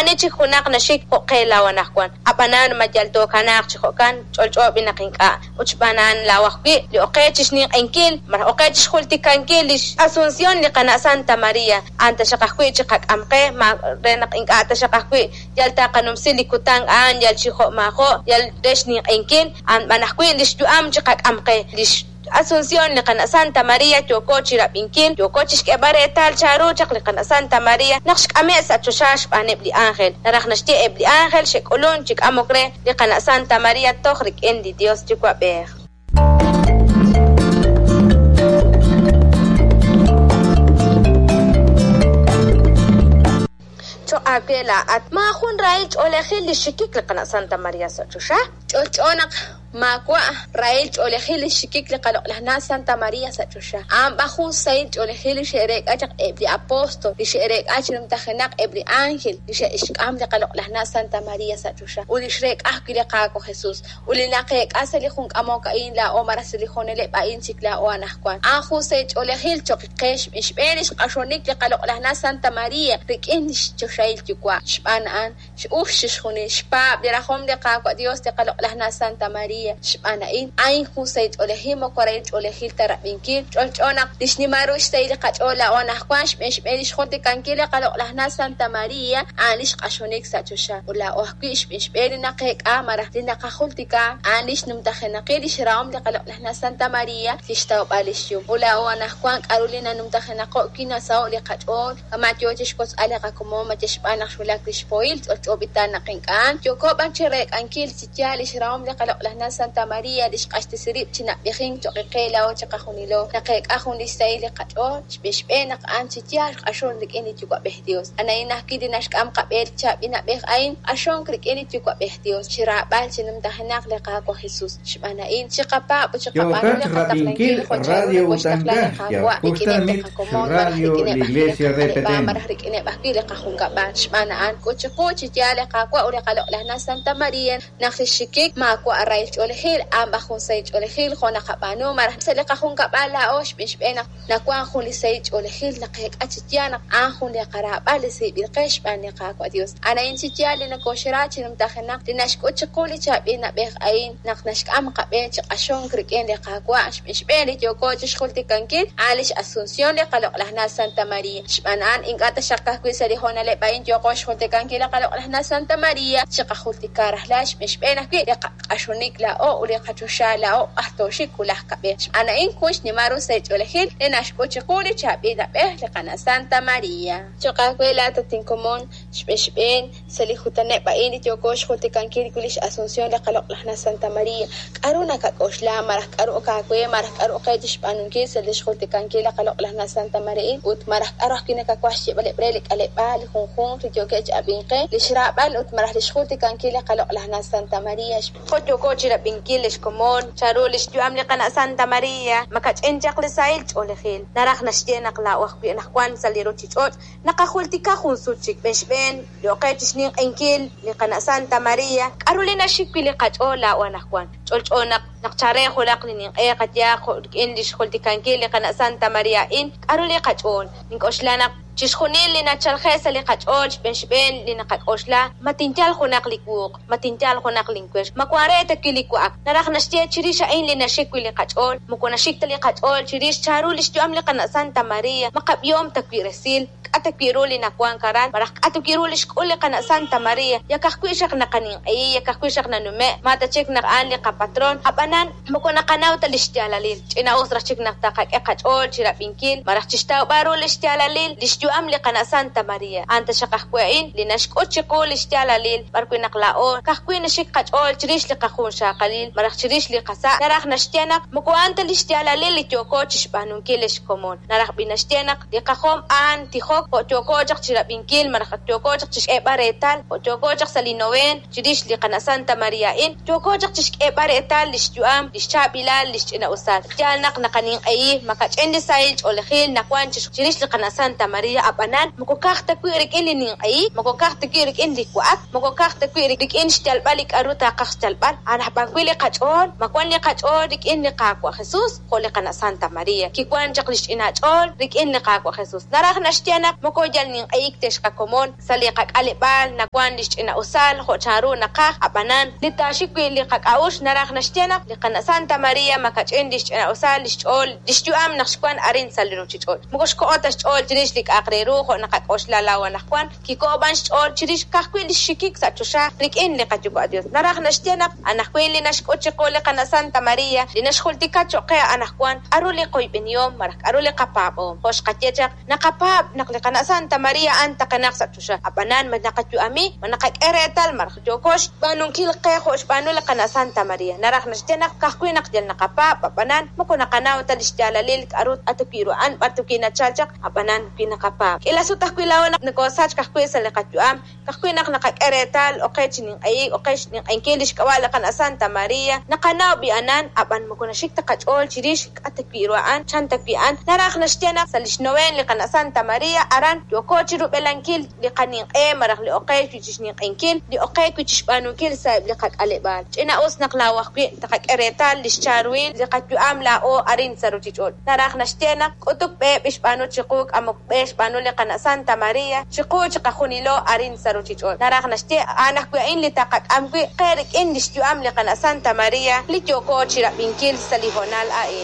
Maa'ani chik junaq naxik jo' qe laa'o anaqwan. Ab'anan ma yal tookanaaq chi jo'kan? Ch'olch'o b'i naq ink'a'. Ut xb'aan a'an laa'o ajwi' li ok qe chi xninq'ehinkil malaj ok qe chi xjultikankil li x'Asunción li qana' Santa María. A'an taxaq ajwi' chiqak'am qe, ma re naq ink'a' taxaq ajwi' yal taqanumsi li kutan a'an yal chi jo' maajo' yal re xninq'ehinkil, a'an b'an ajwi' li xyu'am chiqak'am qe. Li x'Asunción li qana' Santa María yooko chi rab'inkil, yooko chi xk'eeb'al reetal chanru chaq li qana' Santa María naq xk'ame' sa' choxa xb'aaneb' li ánjel. Naraj naxye eb' li ánjel xe'k'ulunk chi k'amok re li qana' Santa María toj rik'in li Dios Yuwa'b'ej. Choq' aawe laa'at, maajun rahil ch'oolejil li xxikik li qana' Santa María sa' choxa. Ch'olch'o naq maawa' rahil ch'oolejil li xxikik li qaloq'laj na' Santa María sa' choxa. A'an b'an jun sahil ch'oolejil li xe'reek'a chaq eb' li apóstol, li xe'reek'a chi numtajenaq eb' li ánjel li xe'xk'am li qaloq'laj na' Santa María sa' choxa, ut li xreek'a ajwi' li Qaawa' Jesús. Ut li naqeek'a sa' li jun k'amok a'in laa'o malaj sa' li hoonaleb' a'in chik laa'o anaqwan, a'an jun sahil ch'oolejil choq' qe xb'een lix q'axonik li qaloq'laj na' Santa María rik'in lix Choxahil Yuwa'. Xb'aan a'an, x'ux chixjunil, xpaab' li rajom li Qaawa' Dios li qaloq'laj na' Santa María. Xb'aan a'in, a'in jun sahil ch'oolejil moko rahil ch'oolejil ta rab'inkil. Ch'olch'o naq li xnimal ru xsahil li qach'ool laa'o anaqwan xb'een xb'een lix jultikankil li qaloq'laj na' Santa María, a'an lix q'axonik sa' choxa. Ut laa'o ajwi' xb'een xb'een li naqeek'a malaj li naqajultika, a'an lix numtajenaqil lix rahom li qaloq'laj na' Santa María, lix tawb'al lix yum. Ut laa'o anaqwan k'a'ru li nanumtajenaqo' wi' nasaho' li qach'ool, kama' yoo chixwotzb'al li qakomon ma yal xb'aan naq xwulak lix pohil, ch'olch'o b'itan naq ink'a'. Yooko b'an chireek'ankil chi yaal lix rahom li qaloq'laj na' Santa María li xq'axtesi rib' chi nab'ejink choq' qe laa'o chiqajunilo. Naqeek'a jun lix sahil li qach'ool, xb'een xb'een naq a'an chi yaal xq'axon rik'in li Yuwa'b'ej Dios. A'an ajwi' li naxk'am qab'e li chaab'il na'b'ej a'in, q'axonk rik'in li Yuwa'b'ej Dios, chi raab'al chi numtajenaq li Qaawa' Jesus. Xb'aan a'in, chiqapaab' ut chiqab'aanu Yookat li qataqlankil rab'inkil jo' chanru Radio nokoxtaqla li Utanka, Qaawa' rik'ineb' li Yalkuxtanmit qakomon malaj Radio rik'ineb' la ajwi' li Iglesia qak'aleb'aal RPTN. malaj rik'ineb' ajwi' li qajunkab'al. Xb'aan a'an, k'ut chiqu chi yaal li Qaawa' ut li qaloq'laj na' Santa María naq li xxikik maawa' rahil ch'oolejil, a'an b'an jun sahil ch'oolejil jo' naqab'aanu malaj sa' li qajunkab'al laa'o xb'een xb'een naq nawank jun li sahil ch'oolejil naqeek'a chi yaal naq a'an jun li qaraab'al li siib'il qe xb'aan li Qaawa' Dios. A'an a'in chi yaal li nokoxra chi numtajenaq li naxk'ut chiqu li chaab'il na'b'ej a'in naq naxk'am qab'e chi q'axonk rik'in li Qaawa' xb'een xb'een li yooko chixjultikankil a'an lix Asunción li qaloq'laj na' Santa María. Xb'aan a'an ink'a' taxaq ka'ajwi' sa' li hoonaleb' a'in yooqo xjultikankil li qaloq'laj na' Santa María, chiqajultika rajlal xb'een xb'een ajwi' li qaq'axonik laa'o ut li qachoxa laa'o b'ar tooxik wulaj kab'ej. Xb'aan a'in jun xnimal ru sahil ch'oolejil li naxk'ut chiqu li chaab'il na'b'ej li qana' Santa María. Choq' aawe laa'at at inkomon, xb'een xb'een sa' li kutaneb' a'in li yooko xjultikankil wi' lix Asunción li qaloq'laj na' Santa María, k'a'ru nakak'oxla malaj k'a'ru ok aawe malaj k'a'ru ok qe chixb'aanunkil sa' lix jultikankil li qaloq'laj na' Santa María ut malaj k'a'ru ajwi' nakawaj xyeeb'aleb' re li k'aleb'aal li junjunq li yookeb' chi ab'ink qe lix raab'al ut malaj lix jultikankil li qaloq'laj na' Santa María. Jo' yooko chi rab'inkil lix komon, chanru lix yu'am li qana' Santa María, makach'in chaq li sahil ch'oolejil. Naraj naxye naq laa'o ajwi' anaqwan sa' li ruchich'och' naqajultika jun sut chik xb'een xb'een li ok qe chixninq'ehinkil li qana' Santa María, k'a'ru li naxik wi' li qach'ool laa'o anaqwan. Ch'olch'o naq naq chare junaq li ninq'e qayehaq jo' rik'in lix jultikankil li qana' Santa María a'in, k'a'ru li qach'ool. Nink'oxla naq chixjunil li nachalje' sa' li qach'ool xb'een xb'een li naqak'oxla, ma tinyal junaq li wuuq, ma tinyal junaq linwex, ma wank re ta wi' li wa'ak. Naraj naxye chirix a'in li naxik wi' li qach'ool, moko naxik ta li qach'ool chirix chanru lix yu'am li qana' Santa María, ma qab'ihom ta wi' resil, k'a' ta wi' ru li nawank aran, malaj k'a' ta wi' ru li xk'ul li qana' Santa María. Yak ajwi' xaq naqaninq'ehi, yak ajwi' xaq nanume', ma ta chik naq a'an li qapatron, ab'anan moko naqanaw ta li xyaalalil. Ch'ina'us raj chik naq taqak'e qach'ool chi rab'inkil malaj chixtawb'al ru li xyaalalil lix yu'am li qana' Santa María. A'an taxaq ajwi' a'in li naxk'ut chiqu li xyaalalil b'arwi' naq laa'o ka'ajwi' naxik qach'ool chirix li qajunxaqalil malaj chirix li qasa', naraj naxye naq moko a'an ta li xyaalalil li yooko chixb'aanunkil lix komon. Naraj b'i' naxye naq li qajom a'an tijok jo' yooko chaq chirab'inkil malaj ak yooko chaq chixk'eeb'al reetal jo' yooko chaq sa' li noveen chirix li qana' Santa María a'in, yooko chaq chixk'eeb'al reetal lix yu'am, lix chaab'ilal, lix ch'ina'usal. Yaal naq naqaninq'ehi makach'in li sahil ch'oolejil nawank chirix li qana' Santa María, ab'anan moko ka'aj ta wi' rik'in li ninq'ehik, moko ka'aj ta wi' rik'in li wa'ak, moko ka'aj ta wi' rik'in xyalb'al li k'a'ru taaqaj xyalb'al, a'an aj b'an wi' li qach'ool, ma wan li qach'ool rik'in li Qaawa' Jesus, jo' li qana' Santa María. Kiwank chaq li xch'ina ch'ool rik'in li Qaawa' Jesus. Naraj naxye naq. naq moko yal ninq'ehik tex qakomon sa' li qak'aleb'aal nawan li xch'ina'usal jo' chanru naqaj ab'anan li taaxik wi' li qak'a'uxl naraj naxye naq li qana' Santa Maria makach'in li xch'ina'usal li xch'ool li xyu'am naq xwan arin sa' li ruuchich'och'. Moko xko'o ta xch'ool chirix li k'a'aq re ru jo' naqak'oxla laa'o anaqwan, kiko'o b'an xch'ool chirix ka'ajwi' li xxikik sa' choxa rik'in li qaYuwa' Dios. Naraj naxye naq anajwi' li naxk'ut chiqu li qana' Santa Maria li naxjultika cho'q qe anaqwan k'aru li qoyb'enihom malaj k'aru li qapaab'oom. Jo' xqaye chaq, naqapaab' naq li qana' Santa Maria a'an taqenaq sa' choxa, ab'anan ma naqayu'ami, ma naqak'e reetal malaj yooko xb'aanunkil qe jo' xb'aanu li qana' Santa Maria. Naraj naxye naq ka'ajwi' naq yal naqapaab', ab'anan moko naqanaw ta li xyaalalil k'aru wi' ru a'an b'ar wi' nachal chaq, ab'anan wi naqapaab'. K'ila sut ajwi' laa'o naq nokoosachk ajwi' sa' li qayu'am, ka'ajwi' naq naqak'e reetal oqe chi ninq'ehik, oqe xninq'ehinkil li xk'ab'a' li qana' Santa Maria, naqanaw b'i'anan, ab'an moko naxik ta qach'ool chirix k'a' ta wi' ru a'an, chan ta wi' a'an. Naraj naxye naq sa' li xnoveen li qana' Santa Maria aran yooko chi rub'elankil li qaninq'e malaj li oqe wi' chi xninq'ehinkil, li oqe wi' chi xb'aanunkil sa'eb' li qak'aleb'aal. Ch'ina'us naq laa'o ajwi' taqak'e reetal li xcharuhil li qayu'am laa'o arin sa' ruuchich'och'. Naraj naxye naq k'utuk b'e b'ixb'aanu chiqu k'amok b'e xb'aanu li qana' Santa Maria chiqu chiqajunilo arin sa' ruuchich'och'. Naraj naxye a'an ajwi' a'in li taqak'am wi' qe rik'in li xyu'am li qana' Santa Maria li yooko chi rab'inkil sa' li hoonal a'in.